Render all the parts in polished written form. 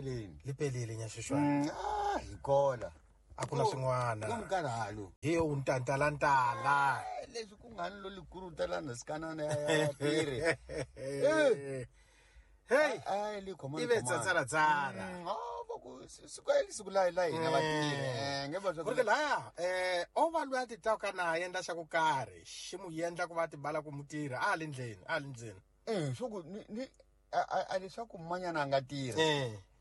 peleni. Li pelile nyaxixwana. Ah, hi kola. A ku na swin'wana. Ku nkarhalo. Hi yo ntantalantala. Leswi ku nga ni lo likurutela sikanana ya tirhi. Hey, Ai li khoma. Ive tsatsaratsara. Ah, va ku siku eli siku la la hina vatirhi. Eh, nge va swa Ku ri laya, o va loyi a ti twaka na a endla xa ku karhi, xi n'wi endla ku va a tibala ku mutirhi a le ndleni, a le ndzeni. Eh, swo ku ni a leswaku manyana a nga tirha.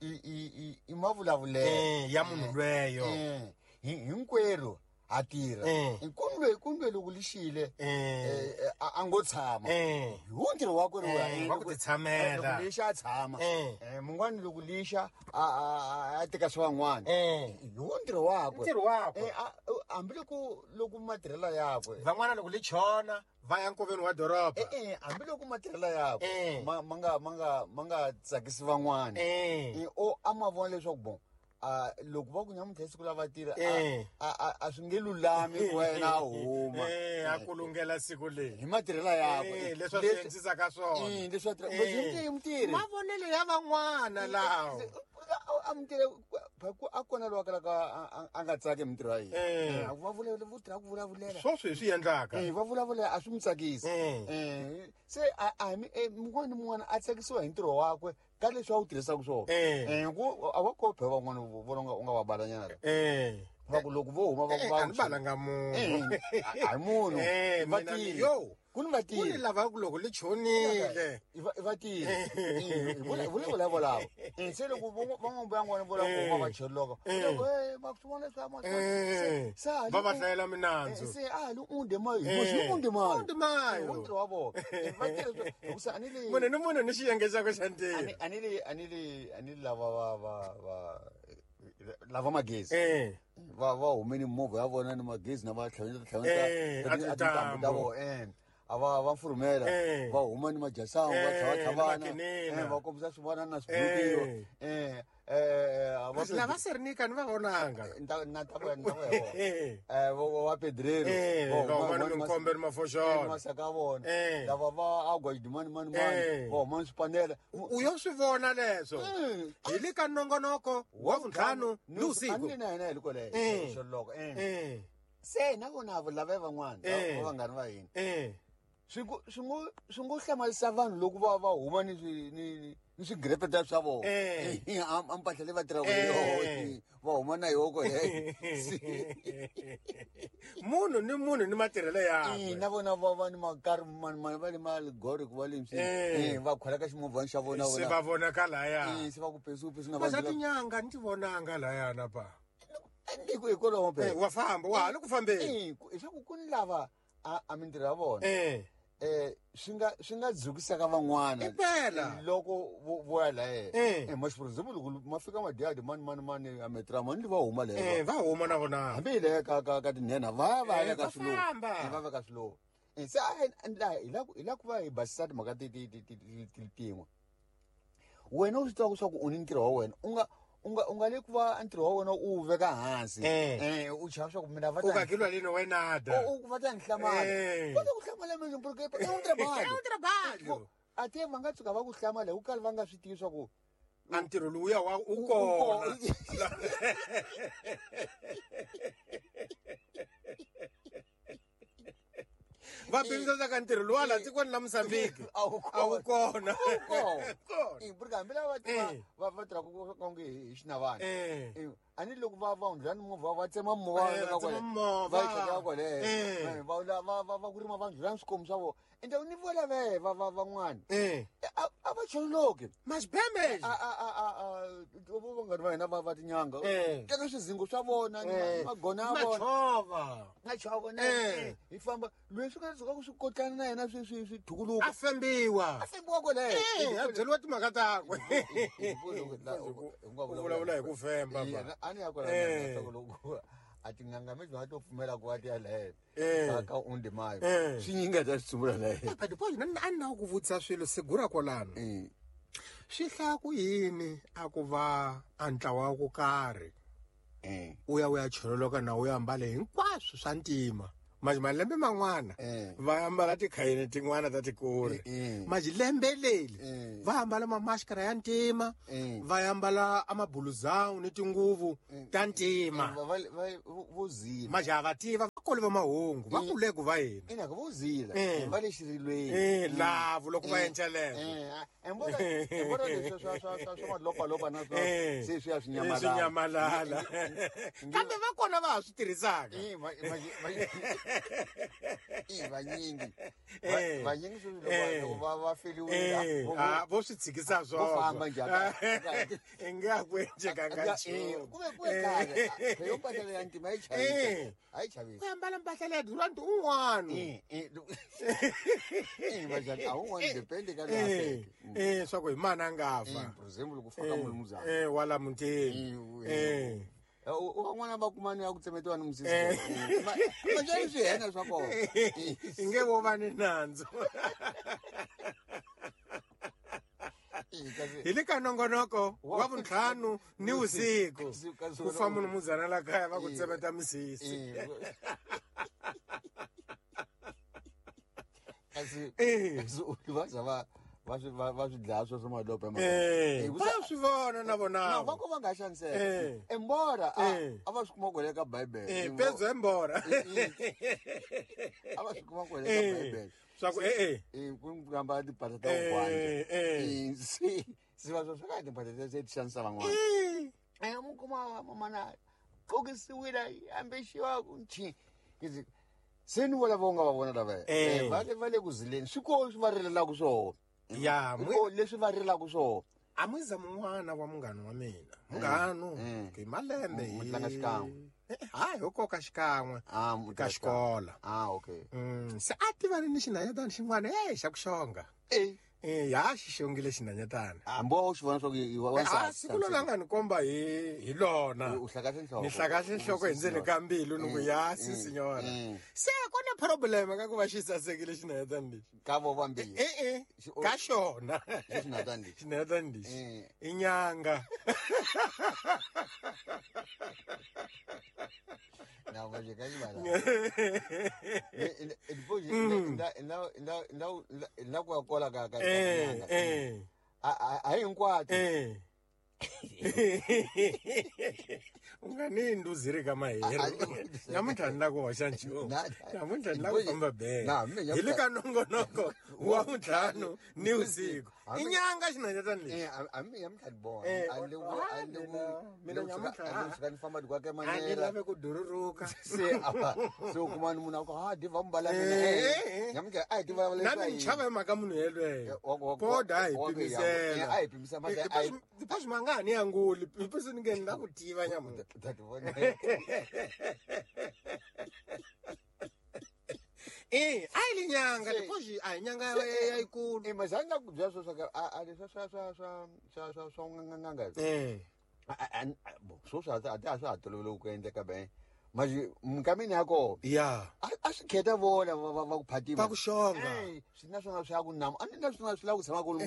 I mavulavulelo. Ya munhu lweyo. Hinkwerhu ha tirha. Kundwe loko lixile, a ngo tshama. Hi wo ntirho wakwe lowu Wa ku titshamela. Loko lixa a tshama. Mun'wana loko lixa a teka swa van'wana. Hi wo ntirho wakwe. Ntirho wakwe. Hambi loko matirhelo yakwe. Van'wana loko li chona va ya nkoveni wa doroba. Hambi loko matirhelo yakwe ma nga tsakisi van'wana. O a ma vona leswaku bon loko va ku nyamuntlha siku la vatirhi a swi nge lulami wena a huma. A kulungela siku leri. Hi matirhelo yakwe. Leswi a swi endlisaka swona. Leswi a tirha. Mutirhi. Mavonelo ya van'wana lawo. A mutirhi a kona loyi a kalaka a nga tsaki hi mintirho ya yena. Va vulavula, vo tirha ku vulavulela. Sweswo hi swi endlaka. Va vulavulela a swi n'wi tsakisi. Se a mun'wana ni mun'wana a tsakisiwa hi ntirho wakwe ka leswi a wu tirhisaka swona. Ku a va kope van'wana vona u nga va balanyana. Va ku loko vo huma va ku va A ni balanga munhu. A hi munhu. Vatirhi. Yo. Ku ni vatirhi. Ku ni lava ku loko li chonile. I vatirhi. Hi vula volavo. Se loko van'wana va n'wana vula ku huma va choloka. Loko va swi vona swa ma. Se a va va hlayela minandzu. Se a li unde mayo. Hi unde mayo. Unde mayo. Unde wa vona. Vatirhi hikusa ani le munhu ni munhu ni xiyenge xakwe xa ntirho. Ani lava va lava magezi. Va humeni movha ya vona ni magezi na va tlhavela tintambu ta vona. A va furumela va huma ni majasangu va tlhavana va kombisa swivona na swibukiro. Lava Serinika ni va vonanga. Na ta vona ya vona. Va pedrero va huma ni minkombe ni mafoxolo. Masaka ya vona. Lava va agwa mani mani mani va huma ni swipanela. U yo swi vona leswo. Hi le ka nongonoko wa vuntlhanu ni usiku. Ani na hina hi le kwale xoloko. Se na vona lava van'wana va vanghana va hina. Swi ngo hlamarisa vanhu loko va huma ni swigrepeta swa vona. A mpahla leyi va tirhaka hi yona va huma na yona kwale. Munhu ni munhu ni matirhelo yakwe. Na vona va ni makarhi mani va le maligore ku va le msini. Va khwela ka ximovhana xa vona. Se va vonaka laya. Se va ku pesu na vanhu. Tinyanga ni ti vonanga layana pa. Ndiko hikwalaho phela. Wa famba wa ha le ku fambeni. Leswaku ku ni lava a mintirho ya vona. Swi nga dzukisaka van'wana. Impela. Loko vo ya laha. Maxipuruzimbu loko ma fika madyadi mani mani mani a metra mani va huma laha. Va huma na vona. Hambi hi le ka tinhenha va va ya ka swilo. Va va ka swilo. Se hi la ku va hi basisa timhaka tin'we. Wena u swi tiva leswaku u ni ntirho wa wena u nga le ku va ntirho wa wena u veka hansi. U chava swa ku mina va ta u kakilwa lini wena da. U va ta ni hlamala. Va ta ku hlamala mina porque é um trabalho. É um trabalho. Até va nga tshuka va ku hlamala hi ku kala va nga swi tivi swa ku a ntirho lowuya wa u kona. Va pimisa ka ntirho luwa la tikweni la Mozambique a wu kona. Porque hambi lava va tirhaka onge hi xinavana. A ni loko va hundlula ni movha va tsema movha va yi tlhekela kwale. Va ku rima va ndlula ni swikomu swa vona. Ende ni vola va van'wana. A va choloki. Masibembe. Vanghana va hina va tinyanga. Teka swizingo swa vona ni magona ya vona. Machova. Machova na hi famba loyi swi nga tshuka ku swi kotlana na yena swi thukuluka. A fembiwa. A fembiwa kwale. A byeriwa timhaka takwe. U vulavula hi ku femba ba. A ni ya kwala loko a tin'anga mi bya to pfumela ku va ti ya laha ka unde mayo. Swi nyinga ta swi laha. But boy a na ku vutisa swilo segura kwalano. Swi hlaya ku yini a ku va a ntlawa wa ku karhi. U ya chololoka na u ya ambale hinkwaswo swa ntima. Manje malembe man'wana va ambala tikhayini tin'wana ta tikulu. Manje lembe leli va ambala mamaskara ya ntima, va ambala amabuluzawu ni tinguvu ta ntima. Vo zila. Manje a va tiva vakoli va mahungu va kule ku va yini. Ina vo zila va le xirilweni. Lavo loko va endla lembe. Embona leswi swa malopalopa na se swi ya swi nyamalala. Swi nyamalala. Kambe va kona va ha swi tirhisaka. Vanyingi. Vanyingi sweswi loko va feriwile vo swi tshikisa swona. Vo famba njhani? I nga ku endlekanga nchumu. Ku ve ku kahle. Yo mpahla ya ntima yi chavisa. A yi chavisi. Ku ambala mpahla leya Durant un'wana. Majani a wun'wana depende ka loyi swa ku hi mani a nga fa. For example ku faka mulumuzana. Wala mutini. Van'wana va kumani ya ku tsemetiwa ni misisi. Majani swi hena swa kona. I nge vo va ni nandzu. Hi le ka nongonoko wa vuntlhanu ni vusiku ku fa munhu muzana la kaya va ku tsemeta misisi. Kasi va za va va swi dlaya swo swa malopo va swi vona na vona. Va ko va nga xaniseka. Embora a va swi kuma kwale ka Bibele. Pedzo embora. A va swi kuma kwale ka Bibele. Swa ku ku ambala timpahla ta vugwanja. Se va swa ka timpahla se ti xanisa van'wana. Mu kuma mamana qokisiwile ambexiwa ku nchi. Se ni vona vo nga va vona lava. Va le ku zileni. Swi ko swi va rilelaka swona. Ya, leswi va rilaka swona. A muza mun'wana wa munghana wa mina. Munghano hi malembe hi tlanga xikan'we. Hayi ho koka xikan'we ka xikola. Okay. Se a tivani ni xinhanyatana xin'wana xa ku xonga. Ya xi xongile xinhanyatana. Hambi wa xi vona swa ku i wansati. Siku lona nga ni komba hi lona. U hlakahle nhloko. Ni hlakahle nhloko hi ndzeni ka mbilu ni ku ya si sinyora. Se ku na problem ka ku va xi sasekile xinhanyatana lexi. Ka vo vambirhi. Ka xona. Xinhanyatana lexi. Xinhanyatana lexi. I nyanga. Na vaje ka xibala. Na ku ya kola ka nyanga. A hinkwato. U nga ni nduziri ka mahero. Namuntlha ni la ku hoxa nchumu. Namuntlha ni la ku famba bele. Hi le ka nongonoko wa vuntlhanu ni vusiku. I nyanga xinhanyatana lexi. A mi nyamuntlha ni vona. Mina nyamuntlha ni famba dikwa ka a ni manera. lave ku dururuka. Se se u kuma ni munhu a ku ha diva mbala mina. Nyamuntlha a hi tiva Na leswi ni chava hi mhaka munhu yelweyo. Koda a hi pimisela. A hi pimisa mhaka Dipasi ma nga ha ni anguli. Dipasi ni nge ni la ku tiva nyamuntlha. Ta ti vona. A yi li nyanga dipasi a hi nyanga ya yikulu. Mazani na ku byela swo swa ka a leswi swa n'anga. Swo swa a ti a swa ha tolovele ku endleka be. Manje minkameni ya kona. Ya. A swi khetha vona va ku phatima. Va ku xonga. Swi na swona swi ya ku nama. A ni na swona swi lava ku tshama ku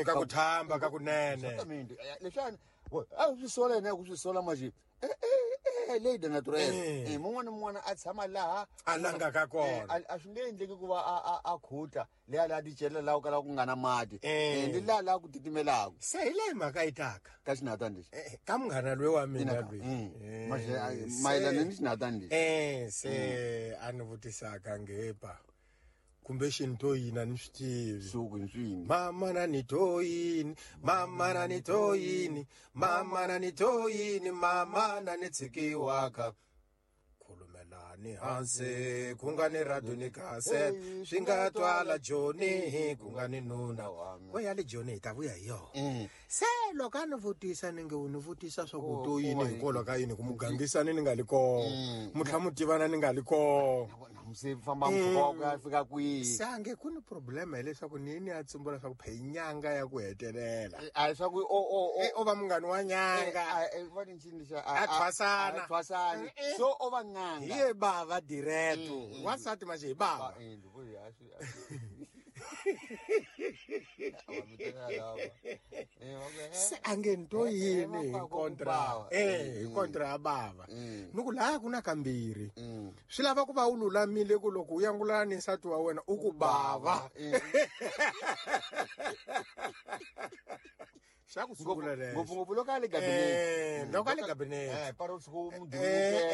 ka ku thamba ka kunene. Exactamente. Leswiwani a swi sola yena ku swi sola manje. Lady naturel. Mun'wana mun'wana a tshama laha a langaka kona. A swi nge endleki ku va a khuta leya laha ticelela laha ku kalaka ku nga na mati. Ni laha laha ku titimelaka. Se hi leyi mhaka yi taka. Ka xinhanyatana lexi. Ka munghana loyi wa mina loyi. Mayelana ni xinhanyatana lexi. Se a ni vutisaka ngepa. Kumbe xinto yini a ni swi tivi. Suku ni swini. Mama na ni to yini, mama na ni to yini, mama na ni to yini, mama na ni tshikiwaka. Khulumelani hansi, ku nga ni radio ni cassette, swi nga twala Joni, ku nga ni nuna. We ya le Joni hi ta vuya hi yona. Se loko a ni vutisa ni nge u ni vutisa swa ku to yini hikwalaho ka yini ku mugangisani ni nga li kona, mu tlhela mu tivana ni nga li kona. Se famba mpfhuka wa ku ya fika kwihi. Se a nge ku ni problem hileswaku ni yini ya tsumbula swa ku phe nyanga ya ku hetelela. A swa ku o va munghana wa nyanga. Va ni ncini xa a thwasana. A thwasana. So o va n'anga. Hi ye bava direto. Wansati manje hi bava. Se A nge ni to yini hi va ku kontra bava. eh hi kontra ya bava. Ni ku laha ku na kambirhi. Swi lava ku va u lulamile ku loko u yangulana ni nsati wa wena u ku bava. Xa ku sungula lexo. Ngopfungopfu loko a le gabinete. Loko a le gabinete. Paro siku Eh, eh.